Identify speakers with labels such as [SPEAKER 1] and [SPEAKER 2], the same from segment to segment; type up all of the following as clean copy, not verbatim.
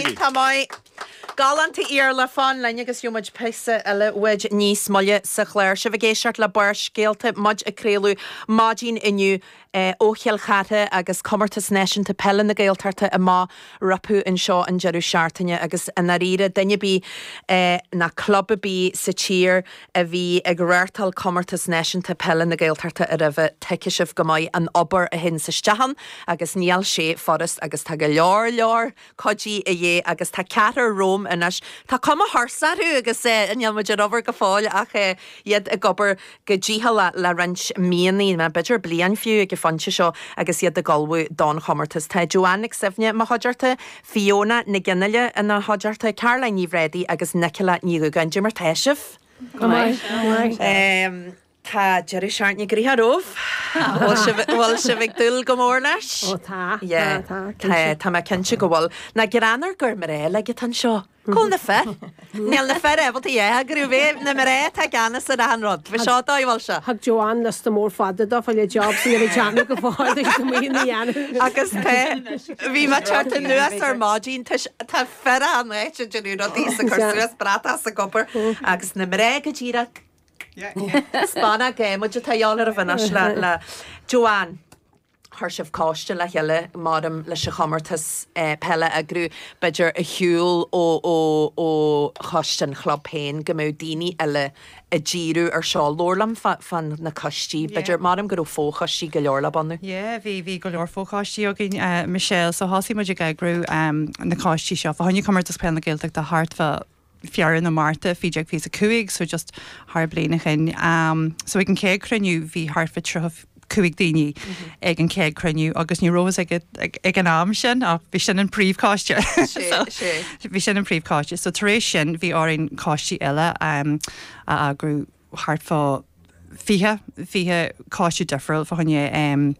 [SPEAKER 1] Iontach maith. Galánta Iarla, fan linn agus gheobhaidh muid píosa eile uait níos moille sa chlár. Sibh ag éisteacht le Barrscéalta, muid ag craoladh maidin inniu ó Chill Chartha agus Comórtas Náisiúnta Peile na Gaeltachta amach rompu anseo an deireadh seachtaine agus i ndáiríre duine ar bith ná club ar bith sa tír a bhí ag reáchtáil Comórtas Náisiúnta Peile na Gaeltachta roimhe tuigfidh sibh go maith an obair a théanns isteach ann agus níl sé furast agus tá go leor leor cuidí a dhíth agus tá ceathrar romham anois. Tá cuma thuirseach orthu agus níl muid ar obair go fóill ach iad ag obair go dícheallach le roinnt míonna, nó b'fhéidir bliain fiú ag an phointe seo agus iad ag ullmhú don chomórtas. Tá Joanne Nic Suibhne i mo chuideachta, Fiona Nic Fhionnghaile ina chuideachta, Caroline Ní Bhréadaí agus Nicola Ní Dhúgáin. Cad é mar tá sibh?
[SPEAKER 2] Go maith, go maith.
[SPEAKER 1] Tá deireadh seachtaine gnoitheach romhaibh. Bhfuil sibh, bhfuil sibh ag dúil go mór leis?
[SPEAKER 2] Ó tá,
[SPEAKER 1] Yeah,
[SPEAKER 2] tá, tá,
[SPEAKER 1] tá,
[SPEAKER 2] cinnte.
[SPEAKER 1] tá mé cinnte go bhfuil. Nach greannmhar gur mná uilig atá anseo. Cá bhfuil na fir? Níl na fir ábalta a eagrú, bheith na mná atá i gceannas ar achan rud. Bhí seo dóigh, bhfuil sé?
[SPEAKER 2] Thug Joanne liosta mór fada dó fá le jobs a bhí déanamh go fóill leis na maoin a dhéanamh.
[SPEAKER 1] Agus tá, bhí mé ag teacht anuas ar maidin, tá, tá fir achan áit ag déanamh rudaí is ag cur suas bratach is ag obair agus na mná go díreach Spána géimid atá dheol ar a bhinois le le Joanne. Chuir sibh coiste le chéile maram leis an chomórtas peile a eagrú, b'fhéidir ar shiúl ó ó ó choiste an chlub féin go mbeadh daoine eile ag díriú ar seo. Labhair liom fá fá na coistí, b'fhéidir maram go raibh fochoistí go leor le bunú.
[SPEAKER 3] Yeah, bhí bhí go leor fochoistí againn, Michelle, so thosaigh muid ag eagrú na coistí seo fá choinne Comórtas Peile na Gaeltachta thart fá Feabhra nó Márta 2025, so just thar bliain ó shin. So ag an chéad chruinniú bhí thart fá 35 daoine ag an chéad chruinniú agus ní raibh a fhios ag ag an am sin ach bhí sin an príomhchoiste. So bhí sin an príomhchoiste. So tar éis sin bhí orainn coistí eile a eagrú thart fá 20, 20 coiste difriúil fá choinne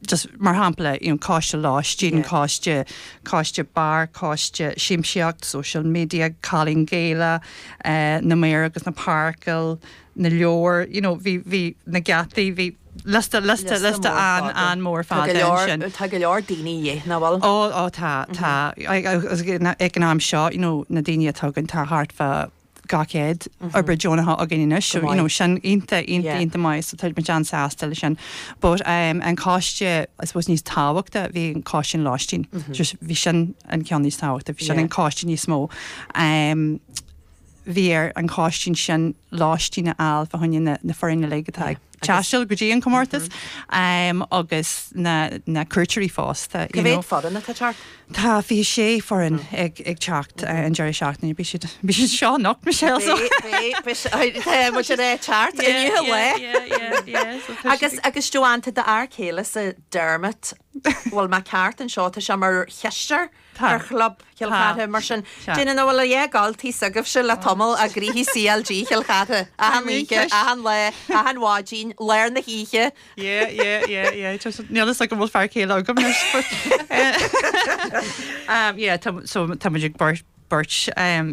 [SPEAKER 3] just mar shampla, you know, coiste lóistín, coiste, coiste beáir, coiste siamsaíocht, social media, Cailín Gaelach, eh, na maoir agus na páirceáil, na leabhair, you know, bhí, bhí na geataí, bhí liosta, liosta, liosta an-mhór
[SPEAKER 1] fada ansin. Tá go leor daoine a dhíth, nach bhfuil?
[SPEAKER 3] Ó, ó tá, tá. Ag an am seo, you know, na daoine atá againn, tá thart fá 200 oibrithe deonacha againn anois so you know sin iontach iontach iontach maith so tá muid an-sásta leis sin. But um an coiste I suppose níos tábhachta bhí an coiste an lóistín. Just bhí sin an ceann níos tábhachta, bhí sin an coiste níos mó. Um bhí ar an choiste sin lóistín a fháil fá choinne na na foireann uilig atá ag taisteal go dtí an comórtas agus na na cuairteoirí fosta.
[SPEAKER 1] Cá mhéad foireann atá ag teacht?
[SPEAKER 3] Tá 26 foireann ag ag teacht an deireadh seachtaine. Beidh siad beidh siad anseo anocht, Michelle. So.
[SPEAKER 1] Beidh beidh tá muid ar a teacht inniu a lá. Agus agus Joanne tá d'fhear céile sa Dermot bhfuil mé ceart anseo tá sé mar chisteoir ar chlub Chill Chartha mar sin déanann a bhfuil a dhéagáltaí s'agaibhse le tamall a gcroíthe CLG Chill Chartha achan oíche, achan lá, achan mhaidin, lár na hoíche.
[SPEAKER 3] Yeah, yeah, yeah, yeah. Just níl fhios agam bhfuil fear céile agam anois but um yeah tá so tá muid ag beirt beirt um.